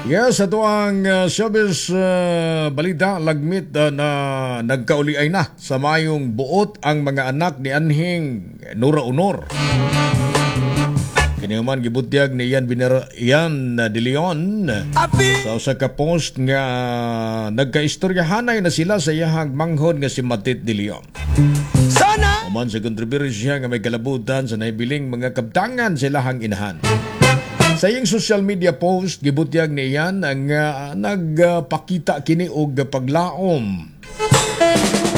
Yes, ato ang showbiz balita, lagmit na nagkauli-ay na sa mayong buot ang mga anak ni anhing Nora Aunor. Kini man gibutyag ni Ian De Leon sa usa ka post nga nagkaistoryahanay na sila sa iyahang manghod nga si Matit De Leon. Sana Human sa kontrobersya nga may kalabutan sa nahibiling mga kabtangan sa ilahang inahan. Sa iyang social media post, gibutyag ni Ian ang nagpakita kini og paglaom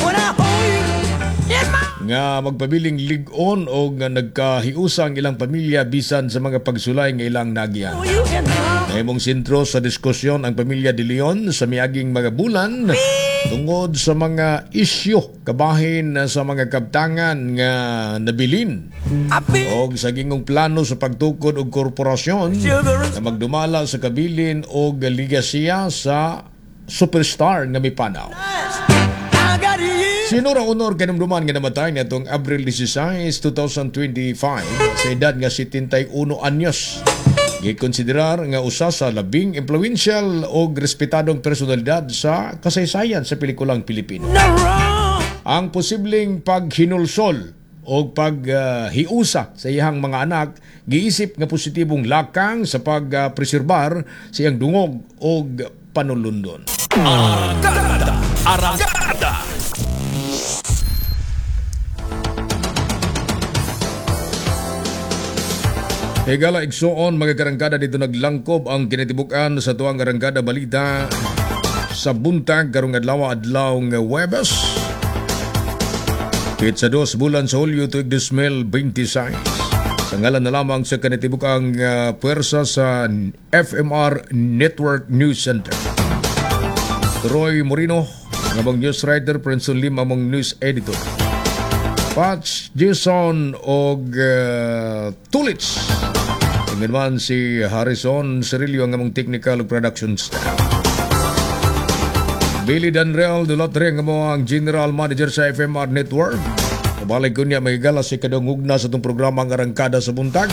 when I hold you in my nga magpabiling lig-on o nga nagkahiusa ang ilang pamilya bisan sa mga pagsulay nga ilang nagyan. you in my Nahimong sentro sa diskusyon ang pamilya De Leon sa miaging mga bulan tungod sa mga isyu kabahin sa mga kabtangan nga nabilin I feel og sa gingong plano sa pagtukod og korporasyon sugar na magdumala sa kabilin og ligasiya sa superstar nga mipanaw. Spice. I got you. Si Nora Aunor kanumduman nga namatay niadtong Abril 16, 2025 sa edad nga 71 anyos. Gikonsiderar nga usa sa labing influential og respetadong personalidad sa kasaysayan sa pelikulang Pilipino. No wrong. Ang posibleng paghinulsol o paghiusa sa iyang mga anak giisip nga positibong lakang sa pagpreserbar sa iyang dungog og panulundon. Arangkada! Arangkada! Higala igsuon mga karangkada, dito naglangkob ang kinatibukan sa tuang arangkada balita sa buntag karong adlaw, adlaw nga Huwebes. Petsa 2 bulan sa Hulyo tuig 2026. Sa ngalan na lamang sa kinatibukang puwersa sa FMR Network News Center. Roy Morino, nga among news writer, Prince Lim among news editor. Patch, Jason og Tulits. Ingin man si Harrison Cirillo ang among technical ug production staff. Billy Danrel Dulatre ang among general manager sa FMR Network. Kabalik ko niya mahigala si kadungugna sa itong programa ang Arangkada sa Buntag.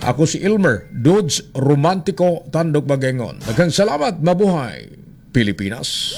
Ako si Ilmer Dudes Romantico Tandok Bagengon. Daghang salamat, mabuhay Pilipinas.